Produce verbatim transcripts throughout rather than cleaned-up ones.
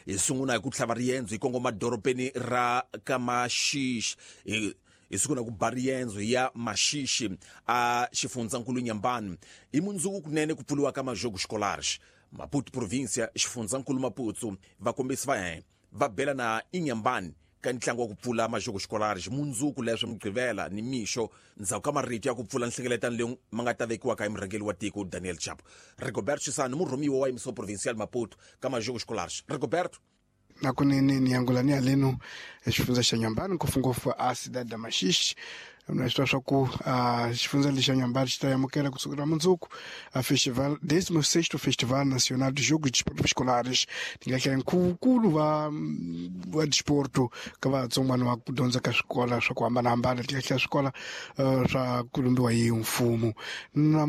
Hi sungula hi ku tlhava riendzo hi kongoma dorobeni ra Kamaxixe. Hi hi sungula ku ba riendzo ya Maxixe a xifundzankulu Inhambane. Hi mundzuku kunene ku pfuriwa ka Majogo Escolares. Maputo província xifundzankulu Maputo vakombisi va hina va bela na Inhambane ka ntlangu wa ku pfula Majogo Escolares mundzuku leswi Mugqivela ni mixo ndzhaku ka marito ya ku pfula nhlengeletano leyi ma nga ta vekiwaka hi murhangeri wa tiko Daniel Chapo. Rigoberto Chisano murhumiwa wa Emissão Provincial Maputo ka Majogo Escolares. Rigoberto nakunene ni yangulani aleno xifundza xa Inhambane ngopfungopfu a cidade da Maxixe. Na swi swa ku xifundza lexi xa Inhambane xi ta amukela kusukela mundzuku a festival décimo sexto Festival Nacional de Jogos de Desporto Escolares ti nga hlaya nkhuvunkulu va va desporto ka vatsongwana va ku dyondza ka swikola swa ku hambanahambana ti nga hlaya swikola swa ku lumbiwa hi mfumo na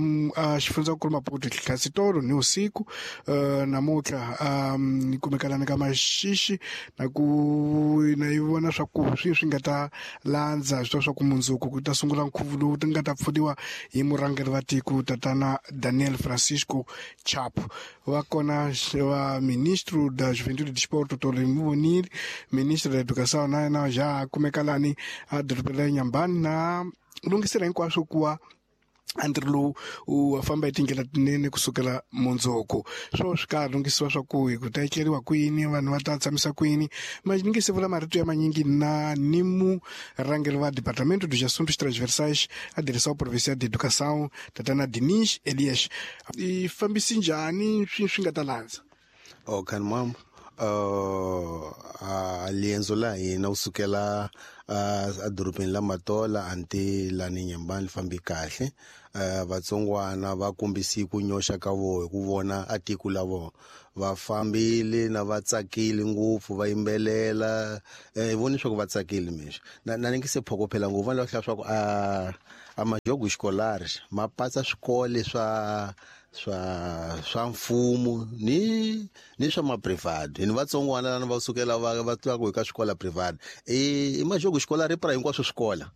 xifundzankulu Maputo tlhasitolo ni usiku namuntlha ni kumekalana ka Maxixe na ku na yi vona swa ku swi swi nga ta landza swi swa ku mundzuku ku ta sungula nkhuvo lowu ti nga ta pfuniwa hi murhangeri wa tiko tatana Daniel Francisco Chapo va kona va ministro da Juventude e Desporto Tolo Muvonile ministro da Educação na na já kumekalani a dorobeni ra Inhambane na lunghisela hinkwaswo ku wa ntirho lowu u famba hi tindlela tinene kusukela mundzuku swo swi ka lunghisiwa swa ku hi ku ta etleriwa kwini vanhu va ta tshamisa kwini ma ni nge se vula marito ya manyingi na ni murhangeri wa Departamento dos Assuntos Transversais a Direção Provincial de Educação tatana Dinis Elias i fambisi njhani swi swi nga ta landza. Oh kan mam uh a lienzo la hina u sukela a dorobeni la Matola anti lani Inhambane li fambi kahle. Uh, vatsongwana va kombisi ku nyoxa ka voho hi ku vona a tiko la vona va fambile na va tsakile ngopfu va yimbelela eh voni swa ku va tsakile mixo na na ni nge se phokophela ngopfu va hlaya swa ku a a Majogo Escolares ma patsa swikole swa swa swa mfumo ni ni swa ma private ni vatsongwana lana va sukela va va twa ku ka swikola private e i Majogo Escolar pra hinkwaswo swikola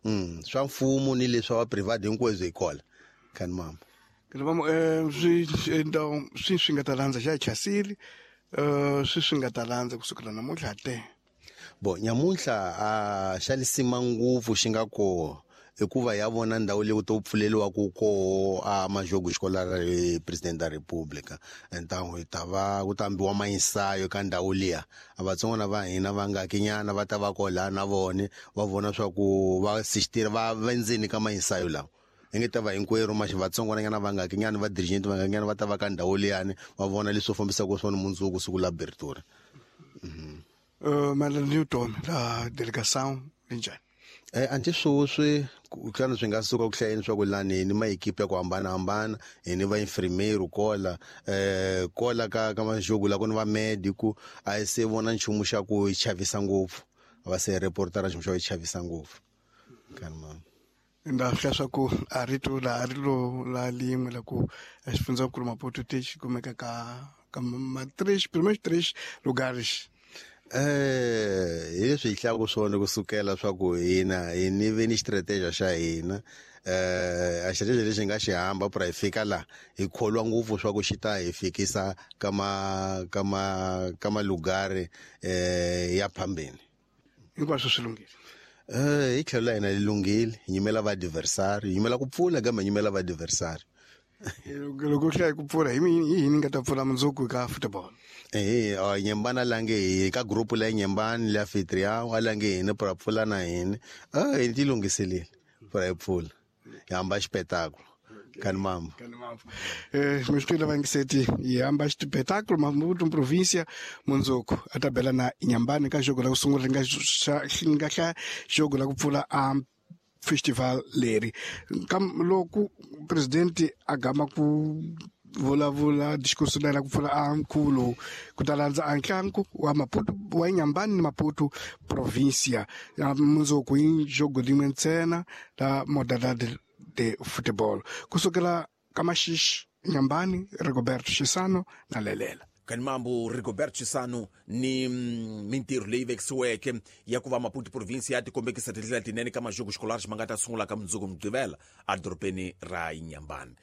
mm swa mfumo ni leswa wa private hinkwaswo hi kola kan mama ke vamo eh swi então swi swi nga ta landza xa chasili eh swi swi nga ta landza kusukela namuntlha te bo nyamuntlha a xa lisima ngopfu xi nga ko hikuva ya vona ndhawu leyi ku to pfuleliwa ku koho a Majogo Escolar President da República então hi ta va ku ta ambiwa mainsayo ka ndhawu liya a vatsongwana va hina va nga kinyana va ta va kola na vone va vona swa ku va assistira va vendzeni ka mainsayo lawa hi nge ta va hinkwerhu maxi vatsongwananyana va nga kinyana va dirigent va nga kinyana va ta va ka ndhawu liyani va vona leswi fambisaka swona mundzuku siku la abertura. Uh, Madam Newton la delegação linjani eh anti swoswi xana swi nga suka ku hlayeni swa ku lani ni maekipe ya ku hambanahambana hi ni va infirmeiro kola eh kola ka ka Majogo la ku ni va medico a yi se vona nchumu xa ku chavisa ngopfu va se reportera nchumu xa ku chavisa ngopfu kan mama nda hlaya swa ku a rito la ri lo la lin'we la ku xifundzankulu Maputo ti xi kumeka ka ka ma três primeiros três lugares. Eh hi leswi hi hlaya ku swona kusukela swa ku hina hi ni ve ni strategy xa hina eh a strategy lexi nga xi hamba pra hi fika la hi kholwa ngopfu swa ku xi ta hi fikisa ka ma ka ma ka malugari eh ya phambeni hinkwaswo swi lunghile. Eh hi tlhelo la hina li lunghile hi nyimela va adversary hi nyimela ku pfula kambe hi nyimela va adversary loko hlaya ku pfula hi yini nga ta pfula mundzuku ka football eh a Inhambane lange hi ka group la Inhambane la anfitrião a lange hina pra pfula na hina ah hi ti lunghiselile pra hi pfula hi hamba xipetáculo kan mama kan mama eh mistwile va ngiseti hi hamba xipetáculo Maputo província mundzuku a ta bela na Inhambane ka jogo la ku sungula nga nga hlaya jogo la ku pfula a festival leri kam loko presidente a gama ku vulavula discurso la ku pfula a nkhuvo lowu ku ta landza a ntlangu wa Maputo wa Inhambane ni Maputo província mundzuku hi jogo rin'we ntsena la modalidade de futebol kusukela ka Maxixe Inhambane Rigoberto Chisano na Lelela. Kan mambo Rigoberto Chisano ni mintirho leyi vekisiweke ya ku va Maputo província ya tikombekisa tindlela tinene ka Majogo Escolares ma nga ta sungula ka mundzuku Mugqivela a dorobeni ra Inhambane.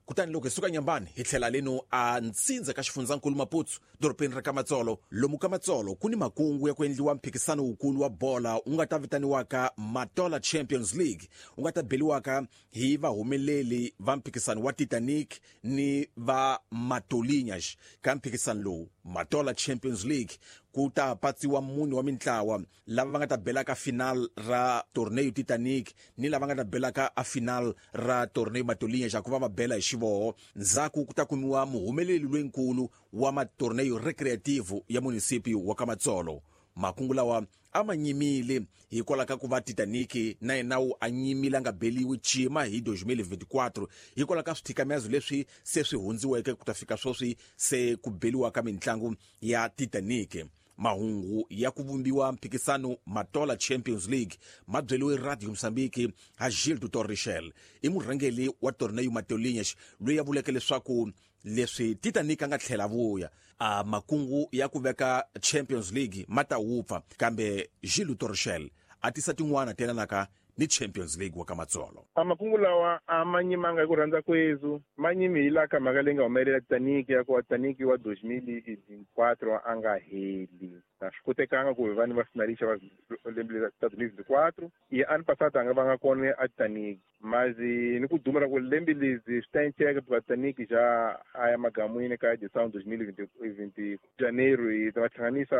Kutani loko hi suka Nyambani hi tlhela leno a Ntsindza ka xifundzankulu Maputo dorobeni ra Kamatsolo. Lomu Kamatsolo ku ni makungu ya ku endliwa mphikisano wukulu wa bola wu nga ta vitaniwaka Matola Champions League, wu nga ta beliwaka hi vahumeleli va mphikisano wa Titanic ni va Matolinhas. Ka mphikisano lowu Matola Champions League ku ta patsiwa mune wa mintlawa lava va nga ta belaka final ra torneo Titanic ni lava nga ta belaka a final ra torneo Matolinhas, ku va va bela hi xivoho. Ndzhaku ku ta kumiwa muhumeleli loyinkulu wa matorneo recreativo ya municipio wa Kamatsolo. Makungu lawa a ma nyimile hikwalaho ka ku va Titanic na yena wu a nyimile a nga beliwi cima hi twenty twenty-four hikwalaho ka swithikamezo leswi se swi hundziweke ku ta fika sweswi se ku beliwa ka mintlangu ya Titanic. Mahungu ya ku vumbiwa mphikisano Matola Champions League ma byeliwe Radio Mozambique ha Gilles Dutor Richel, i murhangeli wa torneo Matolinhas loyi a vuleke leswaku leswi Titanic a nga tlhela vuya a makungu ya ku veka Champions League ma ta wupfa, kambe Gilles Dutor Richel a tisa tin'wana telanaka ni Champions League wa Kamatsolo. A makungu lawa a ma nyimanga hi ku rhandza kwezu, ma nyimi hi laha ka mhaka leyi nga humelela Titanic ya ku Titanic wa twenty twenty-four a nga heli. A swi kotekanga ku vanhu va finalista va lembe ra twenty twenty-four i ano passado a nga vanga kona a Titanic, mas ni ku duma ra ku lembe lezi swi ta enceka ku Titanic ja a ya magamwini ka edição twenty twenty janeiro hi ta va hlanganisa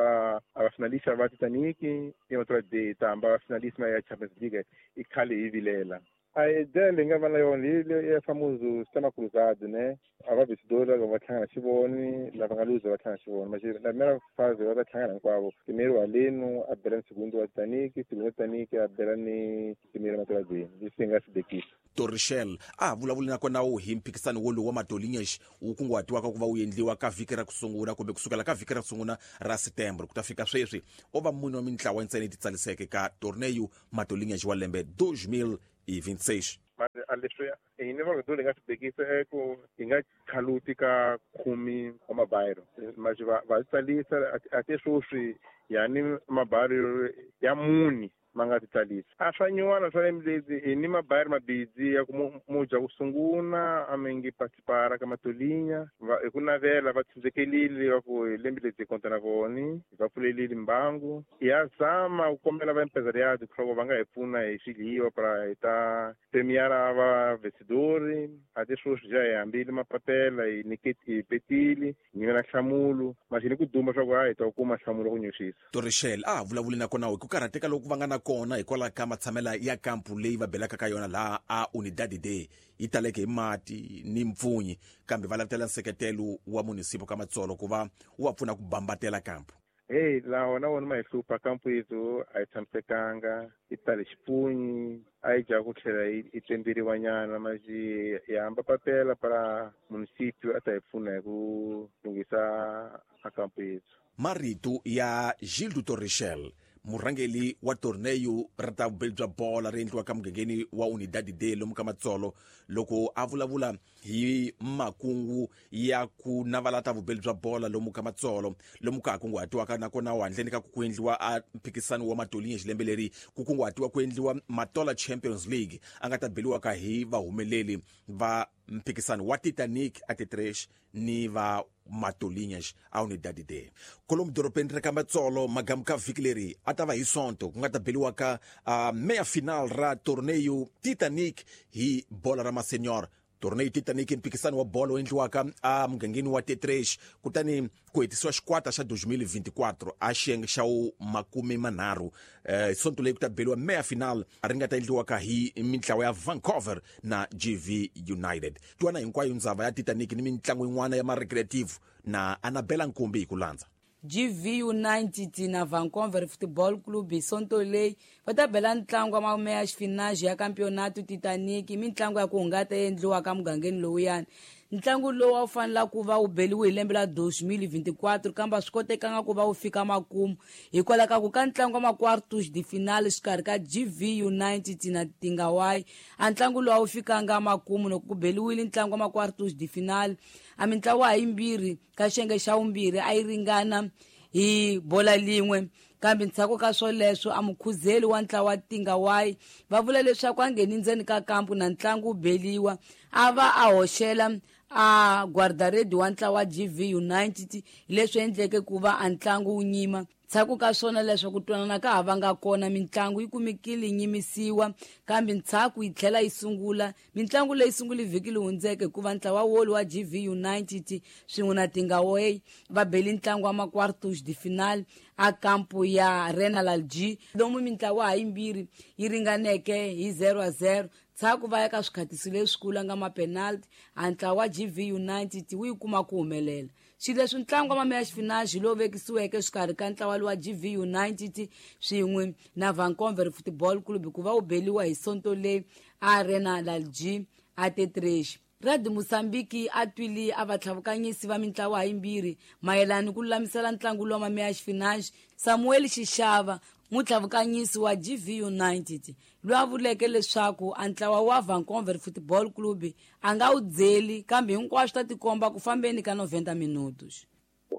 a va finalista va Titanic i matura de ta hamba va finalista ya Champions League i khale hi vilela. A ideia leyi nga va na yona hi ya famoso sistema cruzado, né? A va vencedor va hlangana xivoni, lava nga luza va hlangana xivoni. Mas na primeira fase va ta hlangana hinkwavo. Primeiro aleno a bela ni segundo wa Titanic, segundo Titanic a bela ni primeiro Matola D. Leswi hi nga swi bekisa. Torrichel a vulavuli nakona wu hi mphikisano wolowu wa Matolinhas wu kunguhatiwaka ku va wu endliwa ka vhiki ra ku sungula kumbe kusukela ka vhiki ra ku sungula ra September ku ta fika sweswi o va mune wa mintlawa ntsena yi titsaliseke ka torneo Matolinhas wa lembe twenty twenty-six. Mas a leswi hi ni va hi nga swi bekisa i ku hi nga khaluti ka khumi wa mabayiro, mas va va tsalisa a te sweswi yani mabayiro ya muni ma nga titsalisa. A swa nyuwana swa lembe lezi hi ni mabayiro mabidzi ya ku muja ku sungula a mi ngi participara ka Matolinha va hi ku navela va tshunzekelile va ku hi lembe lezi hi konta na voni va pfulelile mbangu. Ya zama ku kombela va empresariado leswaku va nga hi pfuna hi swidliwa para hi ta premiara va vencedori. A te sweswi ja hi hambile mapapela hi niketi hi petile hi nyimela nhlamulo mas hi ni ku duma swa ku a hi ta kuma nhlamulo ku nyuxisa. Torrichel a vulavuli nakona hi ku karhateka loku va nga na kona hikwalaho ka matshamela ya kampu leyi va belaka ka yona laha a Unidade D yi taleke hi mati ni mpfunyi, kambe va lavutela nseketelo wa munisipo ka Matsolo ku va wu va pfuna ku bambatela kampu. Hey, lawa na wona ma hi hlupha kampu yethu a yi tshamisekanga, yi tale xipunyi a yi dya ku tlhela yi tsemberiwa nyana, mas hi hamba papela para municipio a ta hi pfuna hi ku lunghisa a kampu yethu. Marito ya Gilles Dutor Richel, murhangeli wa torneo ra ta vubeli bya bola ri endliwaka mugangeni wa Unidade D lomu ka Matsolo, loko a vulavula hi makungu ya ku navala ta vubeli bya bola lomu ka Matsolo lomu ka ha kunguhatiwaka nakona handleni ka ku endliwa a mphikisano wa Matolinhas lembe leri ku kunguhatiwa ku endliwa Matola Champions League a nga ta beliwaka hi vahumeleli va mphikisano wa Titanic a Tetresh ni va Matolinhas a Unidade D. Kolomu dorobeni ra ka Matsolo magamu ka vhiki leri a ta va hi Sonto ku nga ta beliwaka uh, meya final ra torneo Titanic hi bola ra masenor. Torneo Titanic mphikisano wa bolo wu endliwaka a mugangeni wa Tetresh kutani ku hetisiwa xikwata xa twenty twenty-four a xiyenge xa wu makume manharhu. Eh, Sonto leyi ku ta beliwa meya final ri nga ta endliwaka hi mintlawa ya Vancouver na G V United. Twana hinkwayo ndzava ya Titanic ni mintlangu yin'wana ya ma-recreative na Anabela Nkumbi hi ku landza. G V United na Vancouver Football Club hi Sonto leyi va ta bela ntlangu wa mameya xifinaji ya campeonato Titanic, mintlangu ya ku hungata endliwaka mugangeni lowuyani. Ntlangu lowu a wu fanela ku va wu beliwe hi lembe la twenty twenty-four kambe a swi kotekanga ku va wu fika makumu hikwalaho ka ku ka ntlangu wa ma-quartos de finale xikarhi ka G V United na Tingawai a ntlangu lowu a wu fikanga makumu. Loko ku beliwile ntlangu wa ma-quartos de finale a mintlawa yimbirhi ka xiyenge xa vumbirhi a yi ringana hi bola lin'we Kambe ndzhaku ka swoleswo a mukhuzeli wa ntlawa Tingawai va vula leswaku a ngheni ndzeni ka kampu na ntlangu wu beliwa a va a hoxela a guardaredi wa ntlawa G V United, leswi endleke ku va a ntlangu wu nyima. Ndzhaku ka swona leswaku twanana ka ha va nga kona, mintlangu yi kumekile yi nyimisiwa, kambe ndzhaku yi tlhela yi sungula. Mintlangu leyi sungule vhiki leyi hundzeke hikuva ntlawa wolu wa G V United swin'we na Tingaway va bele ntlangu wa ma-quartos de finale a kampu ya Renal G, lomu mintlawa hayimbirhi yi ringaneke hi zero a zero. Ndzhaku va ya ka swikhatiso leswikulu nga ma-penalty, a ntlawa wa G V United wu yi kuma ku humelela. Xileswi ntlangu wa mameya xifinaxi lowu vekisiweke exikarhi ka ntlawa lowa G V United swin'we na Vancouver Football Club ku va wu beliwa hi Sonto leyi a Arena Lalji a T três. Radio Mozambique a twile a vatlhavukanyisi va mintlawa hayimbirhi mayelana ku lulamisela ntlangu lowa mameya xifinaxi. Samuel Xixava, mutlhavukanyisi wa G V United, loyi a vuleke leswaku a ntlawa wa Vancouver Football Club a nga wu dzeli, kambe hinkwaswo ta tikomba ku fambeni ka noventa minutos.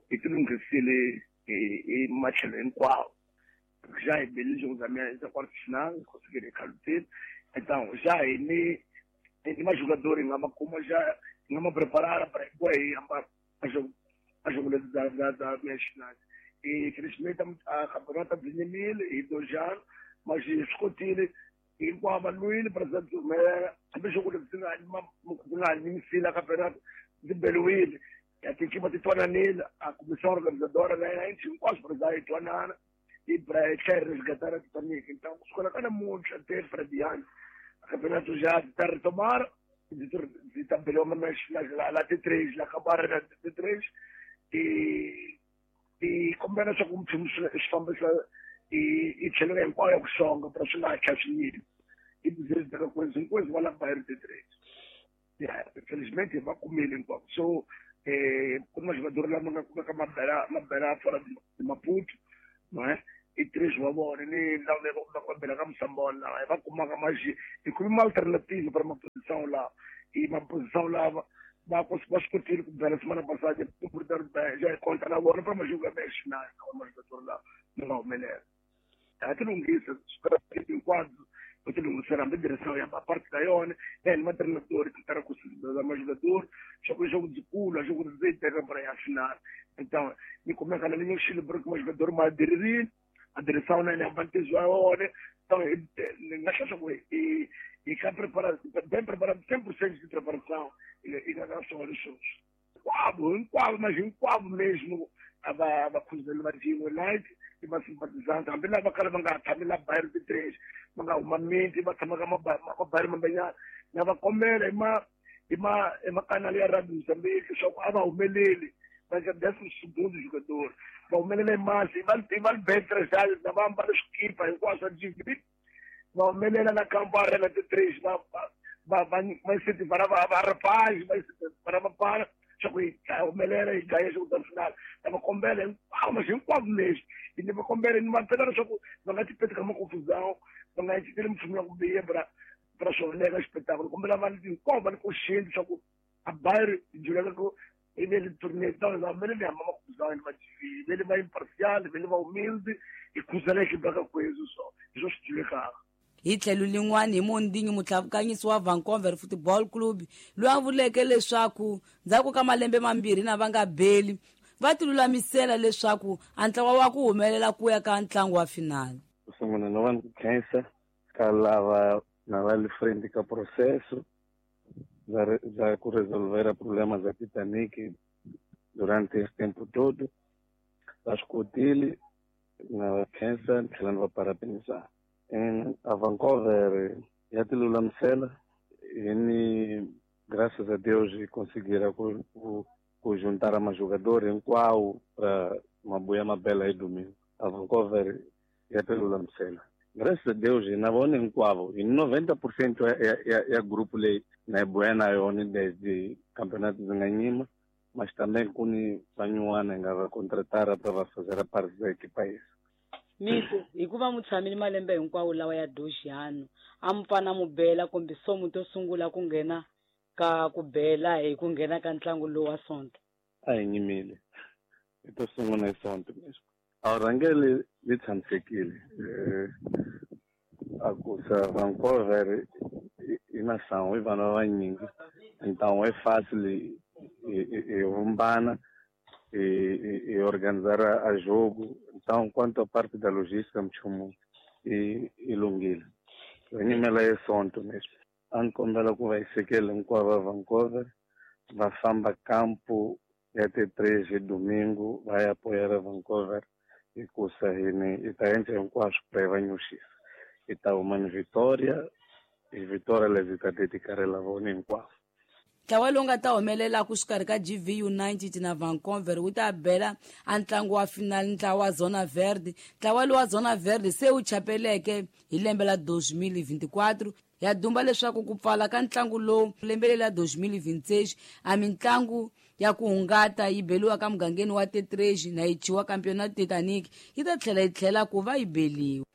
Hi tilunghisile hi matlhelo hinkwawo. Já hi bele jogo za meia za quarto final, conseguiram calutino. Então, já hi ni ni ma jogador nga ma kuma já nga ma preparar para aí a jogo a jogo da da da meia final. E infelizmente a campeonato de mil e dois anos, mas escutile hinkwavo va lwile president Zumela hambi xo ku ndzi nga nga nyimisile campeonato ndzi beliwile ya tikipa ti twananile a comissão organizadora na yena hinkwaswo president yi twanana i tlhela resgatar Titanic. Então kusukela ka namuntlha te Frediano a campeonato já ta retomar ndzi ta beliwa ma la T três la kabara la T três e e kombela leswaku mpfhumo swi fambisa i tlhelo hinkwayo ya ku xonga para swi nga ha swiyini i bizezi ka kwezi hinkwezi va la bayero T três. Ya infelizmente va kumile hinkwavo. So eh ku na jogador lama nga kumeka mabela mabela fora de Maputo, não é? E três wa vona ni lava va va bela ka Moçambola va kumaka mas hi kume uma alternativa para uma posição lá e uma posição lá va va swi kotile ku bela semana passada já conta na vona para jogar meia final uma jogador lá não nga humelela. A ti lunghisa hinkwabyo va ti lunghisela hambi direção ya parte da yona na ni matreinador ti tara ku da ma jogador xa ku xa ku dzikula xa ku ndzi teka para ya final. Então ni kumeka na linha xilo porque ma jogador ma aderirile a direção na ya vantage ya yona. Então ni nga hlahla ku i i ka preparado bem preparado cem por cento de preparação e e nga só leswo hinkwavo hinkwavo mas hinkwavo mesmo a va va khuzela va G V United i va simpatizante hambi lava kala va nga tshami la bayero T três va nga huma miti va tshama ka mabayero mambenyana na va kombela hi ma hi ma hi makanali ya Radio Mozambique leswaku a va humeleli va nga décimo segundo jogador va humelela hi masi va va betre já na va ambala swikipa hinkwaswo swa G V va humelela na kampo Arena T três va va va va incentivar va va rapaz va incentivar va para swa ku hi humelela hi gaya xo ta final. Na va kombela hinkwavo mas hinkwavo mesmo e ni va kombela ni va pela leswaku va nga ti peti ka maconfusão va nga inciteli mpfumo ya ku biha para para swoneka xipetakulo. Kombela vanhu hinkwavo va ni consciente leswaku a bayero hi juleka ku i ve le tournée então va humeleli hamba maconfusão ni va G V vele va imparcial vele va humilde hi khuzela ekipa ka kwezu so hi swo swi julekaka. Hi tlhelo lin'wana hi Mondingi, mutlhavukanyisi wa Vancouver Football Club, loyi a vuleke leswaku ndzhaku ka malembe mambirhi na va nga beli va ti lulamisela leswaku a ntlawa wa ku humelela ku ya ka ntlangu wa final. Ku sungula na va khensa ka lava na va le frente ka processo za ku resolver problema za Titanic durante esse tempo todo. Va swi kotile na va khensa ni tlhela ni va parabenizar. A Vancouver ya ti lulamisela e ni graças a Deus conseguiram ku, ku, ku juntar a jogador hinkwavo para mabuya mabela aí domingo. A Vancouver ya ti lulamisela. Graças a Deus na vona hinkwavo hi noventa por cento ya, ya, ya grupo leyi na buya na yona desde campeonato ndzi nga nyima, mas também ku ni van'wana hi nga va contratar para va fazer a parte da equipa isso. Miko, hikuva mu tshamile malembe hinkwawo lawa ya doxiyano a mu pfana mu bela kumbe somu to sungula ku nghena ka ku bela hi ku nghena ka ntlangu lowu wa Sonto. A hi nyimile hi to sungula hi Sonto mesmo. A rhangeli li tshamisekile a ku sa Vancouver i na sangu i vanhu vanyingi então é fácil e vumbana e, e organizar a jogo. Então quanto à parte da logística mchumu e e lunghile nyimela yesonto mesmo a ni kombela ku va yi sekela hinkwavo va Vancouver va famba campo ya T três hi domingo va ya apoiar Vancouver hikusa hini hi ta endla hinkwaswo ku va hi va nyuxisa hi ta huma ni Victoria hi Victoria lezi hi ta dedicarela vona hinkwavo. Ntlawa lowu nga ta humelela ku xikarhi ka G V United na Vancouver wu ta bela a ntlangu wa final ntlawa wa Zona Verde. Ntlawa lowu wa Zona Verde se wu chapeleke hi lembe la dois mil e vinte e quatro ya dumba leswaku ku pfala ka ntlangu lowu lembe la dois mil e vinte e seis a mintlangu ya ku hungata yi beliwa ka mugangeni wa T três na yi chiwa Campeonato Titanic yi ta tlhela yi tlhela ku va yi beliwa.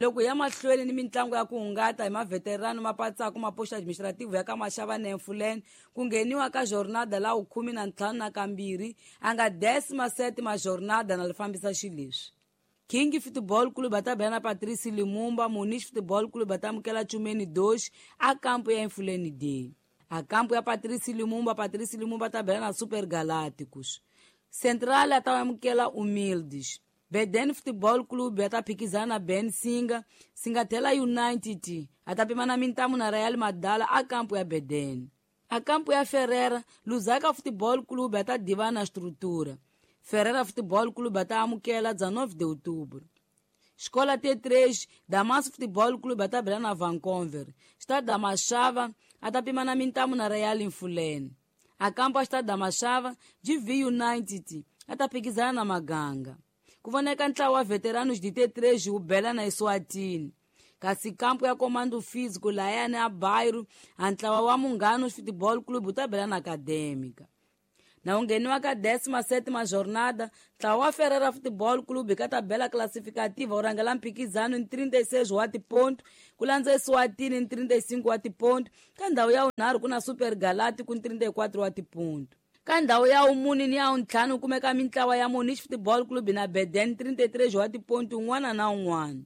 Loko ya mahlweni ni mintlangu ya ku hungata hi maveterano mapatsaku mapoxa administrativo ya ka Maxava na Mfuleni ku ngheniwa ka jornada la khume na ntlhanu na kambirhi a nga décima sétima jornada na li fambisa xileswi. King Football Club ta bela na Patrice Lumumba, Muniz Football Club ta amukela Chumeni dois a campo ya Mfuleni D. A campo ya Patrice Lumumba, Patrice Lumumba ta bela na Super Galácticos. Central ta amukela Humildes. Beden Football Club ata phikizana na Ben Singa, Singatela United atapimana mintamu na Real Madala a campo ya Beden. A campo ya Ferreira, Lusaka Football Club ata divana na estrutura. Ferreira Football Club ata amukela dezenove de outubro. Escola T três, Damasco Football Club ata bela na Vancouver. Estado da Machava atapimana mintamu na Real Infulene. A campo ya Estado da Machava, G V United ata phikizana na Maganga. Ku voneka ntlawa wa veteranos de T três wu bela na Eswatini. Kasi kampo ya Comando Físico layani a Bairro, a ntlawa wa Munganos Futebol Clube wu ta bela na Acadêmica. Na wu ngheniwa ka décima sétima jornada, ntlawa wa Ferreira Futebol Clube ka tabela classificativa wu rhangela mphikizano ni trinta e seis wa tiponto, ku landza Eswatini ni trinta e cinco wa tiponto, ka ndhawu ya vunharhu ku na Super Galáctico ni trinta e quatro wa tiponto. Ka ndhawu ya vumune ni ya vuntlhanu kumeka mintlawa ya Muniz Football Club na Beden trinta e três wa tiponto un'wana na un'wana.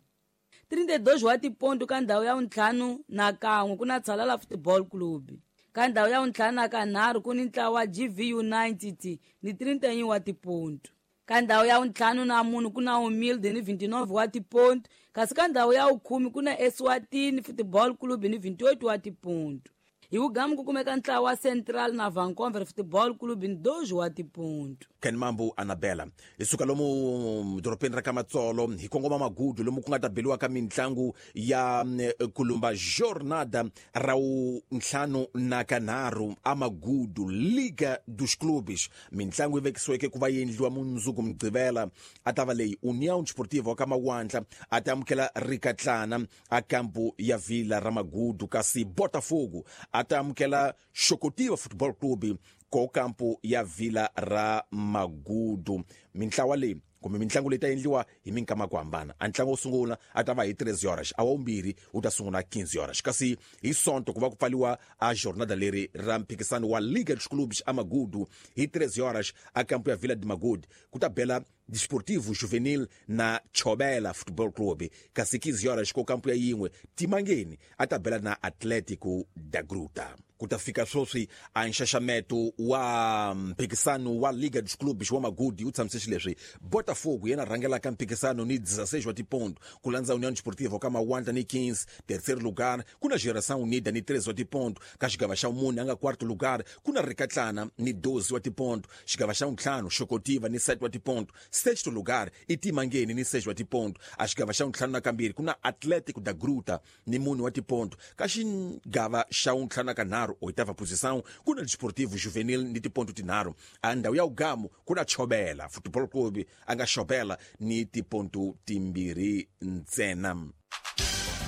trinta e dois wa tiponto ka ndhawu ya vuntlhanu na kan'we ku na Tshalala Football Club. Ka ndhawu ya vuntlhanu na kanharhu ku ni ntlawa wa G V United ni trinta e um wa tiponto. Ka ndhawu ya vuntlhanu na mune ku na Humilde ni vinte e nove wa tiponto, kasi ka ndhawu ya vukhume ku na Eswatini Football Club ni vinte e oito wa tiponto. Hi wugamu ku kumeka ntlawa wa Central na Vancouver Football Club ni dois wa tiponto. Ken Mambo Anabela hi suka lomu dorobeni ra ka Matsolo hi kongoma Magudu lomu ku nga ta beliwa ka mintlangu ya kulumba jornada ra ntlhanu na kanharhu a Magudu Liga dos Clubes. Mintlangu yi vekisiweke ku va yi endliwa mundzuku Mugqivela a ta va leyi União Desportiva wa ka Mawandla a ta amukela Rikatlana a kampu ya Vila ra Magudu, kasi Botafogo a ta amukela Xokotiva Football Club ko kampu ya Vila ra Magudu. Mintlawa leyi kumbe mintlangu leyi ta endliwa hi minkama ku hambana. A ntlangu wo sungula a ta va hi treze horas, a wa vumbirhi wu ta sungula quinze horas, kasi hi Sonto ku va ku pfaliwa a jornada leri ra mphikisano wa Liga dos Clubes a Magudu hi treze horas a kampu ya Vila de Magudu ku ta bela Desportivo Juvenil na Chobela Football Club, kasi quinze horas ko kampu ya yin'we Timangeni a ta bela na Atlético da Gruta. Ku ta fika sweswi a nxaxameto wa mphikisano wa Liga dos Clubes wa Magudi wu tshamise xileswi. Botafogo yena rhangelaka mphikisano ni dezesseis wa tiponto, ku landza União Desportiva ka Mawandla ni quinze, terceiro lugar ku na Geração Unida ni treze wa tiponto, ka xigava xa mune a nga quarto lugar ku na Rikatlana ni doze wa tiponto, xigava xa ntlhanu Xokotiva ni sete wa tiponto, sexto lugar i Timangeni ni seis wa tiponto, a xigava xa ntlhanu na kambirhi ku na Atlético da Gruta ni mune wa tiponto, ka xigava xa ntlhanu na kanharhu oitava posição ku na Desportivo Juvenil ni tiponto tinharhu, a ndhawu ya ugamu ku na Chobela Football Club a nga Chobela ni tiponto timbirhi ntsena.